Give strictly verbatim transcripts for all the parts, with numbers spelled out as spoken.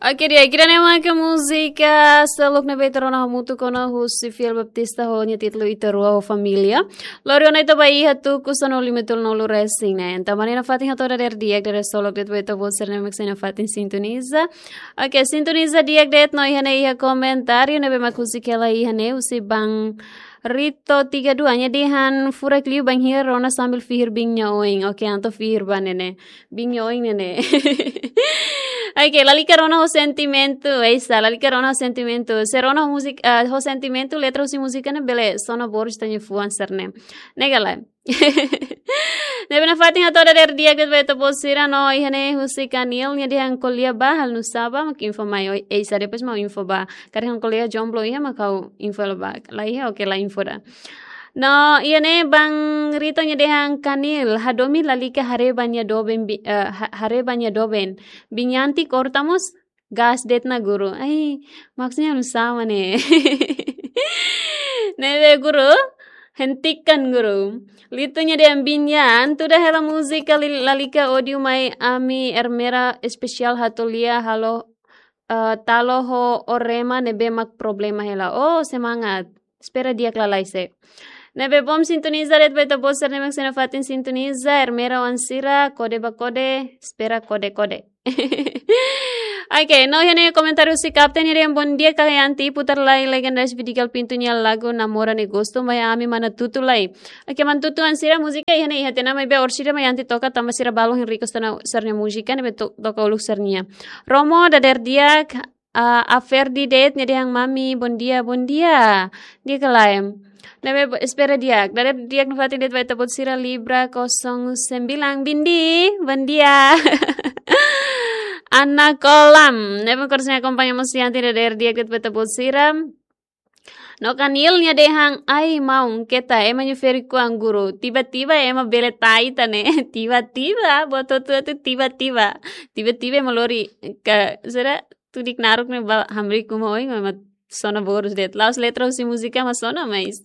Oke, di'ak, ida-ne'e mak múzika seluk ne'ebé ita rona hamutuk ona husi Fiel Baptista ho nia títulu Ita Rua ho Família. Lori ona ita ba iha tuku sanulu-lima-nulu nulu resin ne'e. Entaun, mai nafatin hato'o dadeer di'ak, dadeer solok de'it ba ita-boot sira ne'ebé mak sei nafatin sintoniza. Oke, sintoniza di'ak de'it no iha ne'e iha komentáriu ne'ebé mak husik hela iha ne'e husi Bang Rito tiga dua, nia dehan furak liu bainhira rona sambil fihir biin nia oin. Oke, entaun fihir ba ne'e ne'e. Biin nia oin ne'e ne'e. Oke, lalika rona ho sentimentu, eisa, lalika rona ho sentimentu. Se rona ho múzika, ah, ho sentimentu, letra husi múzika ne'e bele sona borus ita-nia fuan sira-ne'e. Ne'e ka lae. Ne'ebé nafatin hato'o dadeer di'ak de'it ba ita-boot sira no iha ne'e husi Kanil, nia dehan ko'alia ba halo nu'usá ba, mak info mai, oi, eisa, depois mak info ba. Karik ha'u ko'alia jomblo iha mak ha'u info hela ba. La iha, oke, la info ida. No iha ne'e Bang Rito nia dehan Kanil, hadomi lalika haree ba nia doben bi-, eh, ha-, haree ba nia doben. Biin Yanti korta mós gas de'it ona guru. Ai, maksudnya halo nu'usá mak ne'e. Ne'ebé guru, hentikan guru. Lito nia dehan biin Yan, tuda hela múzika li-, lalika ódiu mai ami Ermera espesiál hato'o lia halo, eh, talo ho ó rema ne'ebé mak problema hela. Oh, semangat. Espera di'ak lalais. Ne'ebé bom sintoniza de'it ba ita-boot sira ne'ebé mak sei nafatin sintoniza, Ermera oan sira, kode ba kode, espera kode-kode. Oke, no iha ne'e komentáriu husi Kapten, nia dehan bondia kaka Yanti, putar lai Legendas Vidigal Pinto nia lagu Namora Ne'e Gostu, mai ami mana tutu lai. Oke, mana tutu oan sira, múzika iha ne'e iha tiha ona, maibé orsida mai Yanti toka tanba sira balu hein request ona sira-nia múzika, ne'ebé to-, toka uluk sira-nia. Romo, dadeer di'ak, ah, Aferdi de'it, nia dehan mami, bondia, bondia. Di'ak ka lae. Ne'ebé bo-, espera di'ak. Dadeer di'ak nafatin de'it ba ita-boot sira Libra kosong sembilan, Bindi, bondia. Ana Kolam. Ne'ebé mak sei akompaña mós Yanti, dadeer di'ak de'it ba ita-boot sira. No Kanil nia dehan, ai maun, keta ema nia ferik-oan guru. Tiba-tiba ema bele tau ita ne'e. Tiba-tiba, buat hotu-hotu tiba-tiba. Tiba-tiba ema lori ka, sira tudik naruk ne'e ba hamriik uma oin, ema sona borus de'it. La'ós letra husi múzika mak sona, mais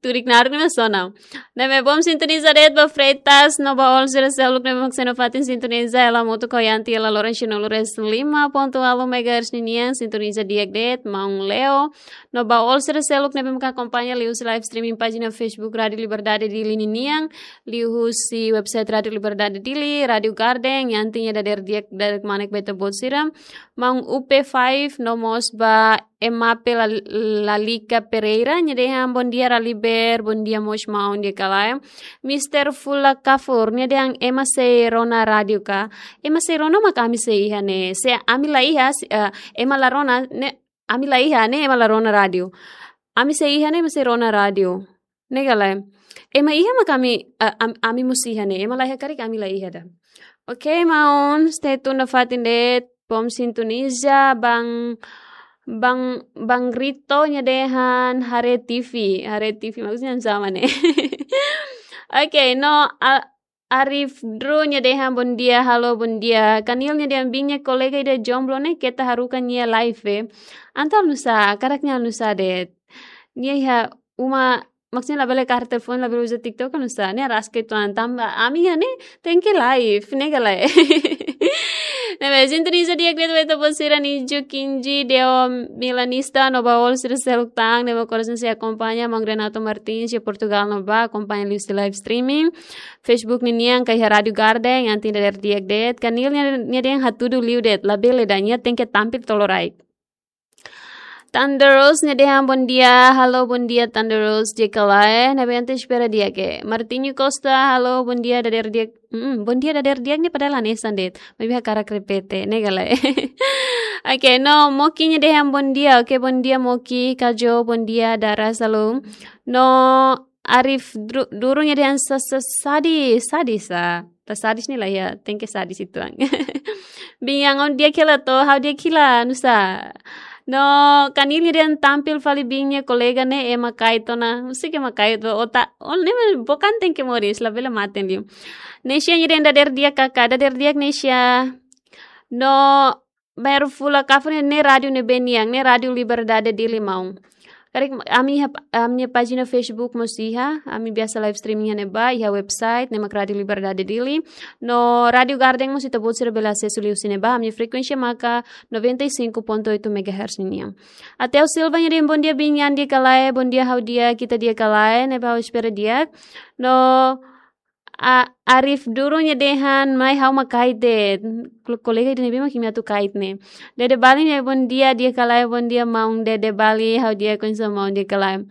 tudik naruk ne'e mak sona. Ne'ebé bom sintoniza de'it ba Freitas, no ba all sira seluk ne'ebé mak sei nafatin sintoniza, hela hamutuk ho Yanti, hela loron sanulu-resin-lima pontu ualu megahertz ninian, sintoniza di'ak de'it, maun Leo. No ba all sira seluk ne'ebé mak akompaña liuhusi live streaming pájina Facebook Rádio Liberdade Dili ninian, liuhusi website Rádio Liberdade Dili, Rádio Garden, Yanti nia dadeer di'ak, dadeer kmanek ba ita-boot sira. Maun U P five, no mós ba Emape La-, Lalika Pereira, nia dehan bondia Raliber, bondia mós maun, di'ak ka lae. Mister Fula Kafur, nia dehan ema sei rona rádiu ka. Ema sei rona mak ami sei iha ne'e. Se ami la iha, se, eh, ema la rona, ne'e, ami la iha ne'e, ema la rona rádiu. Ami sei iha ne'e, ema sei rona rádiu. Ne'e ka lae. Ema iha mak ami, eh, am-, ami mós iha ne'e. Ema la iha karik ami la iha ida. Oke, maun, stay tune nafatin de'it. Bom sintoniza, Bang, Bang, Bang Rito nia dehan haree T V, haree T V maksudnya sama ne'e. Oke, no, a-, Arif Dru nia dehan bondia, halo bondia. Kanil nia dehan biin nia kolega ida jomblo ne'e keta haruka nia live. Entaun halo nu'usá, karaknya halo nu'usá de'it. Nia iha uma, maksudnya labele kaer telefone, labele uza TikTok halo nu'usá. Nia rasik uitoan tanba ami iha ne'e tenke live, ne'e ka lae. Ne'ebé sintoniza di'ak de'it ba ita-boot sira Niju Kinji, Deo Milanista, no ba all sira seluk tan, ne'ebé mak sei akompaña, maun Renato Martins, iha Portugal ne'ebá, akompaña liuhusi live streaming Facebook ninian ka iha Rádio Garden, Yanti dadeer di'ak de'it. Kanil nia, nia dehan hatudu liu de'it, labele ida, nia tenke tampil tolo raik. Thunderous nia dehan bondia, halo bondia Thunderous, di'ak ka lae, ne'ebé Yanti espera di'ak. Martinho Costa, halo bondia dadeer di'ak, mm, bondia dadeer di'ak ne'e padahal hanesan de'it, maibé hakarak repete, ne'e ka lae. Oke, no, Moki nia dehan bondia, oke, bondia Moki, Kajo, bondia, Dara, salam. No, Arif Dru-, Duru nia dehan sa-, sa-, sadis, sadis, ah. La sadis ne'e la iha, tenke sadis uitoan. Biin Yang, ó di'ak hela to, ha'u di'ak hela, nu'usá. No, Kanil nia dehan tampil fali biin nia kolega ne'e, ema kaer tiha ona. Husik ema kaer tiha ona, ota, ó ne'e mak bukan tenke moris, labele mate liu. Nesia nia dehan dadeer di'ak kaka, dadeer di'ak Nesia. No, Baru Fula Kafur ne'e rádiu ne'ebé nian, ne'e Rádio Liberdade Dili maun. Karik ami iha, ami-nia pájina Facebook mós iha, ami biasa live streaming iha ne'ebá, iha website ne'e mak Rádio Liberdade Dili. No Rádio Garden mós ita-boot sira bele asesu liuhusi ne'ebá, ami-nia frekuénsia maka noventa e cinco ponto oito megahertz ninian. Até o Silva nia dehan bom dia Biin, di'ak ka lae, bom dia ha'u di'ak, ita di'ak ka lae, ne'ebé ha'u espera di'ak. No A, Arif Duru nia dehan mai ha'u mak kait de'it. Ko-, kolega ida ne'ebé mak imi atu kait ne'e. Dede Bali nia bom dia, di'ak ka lae, bom dia maun Dede Bali, ha'u di'ak, oinsá maun, di'ak ka lae.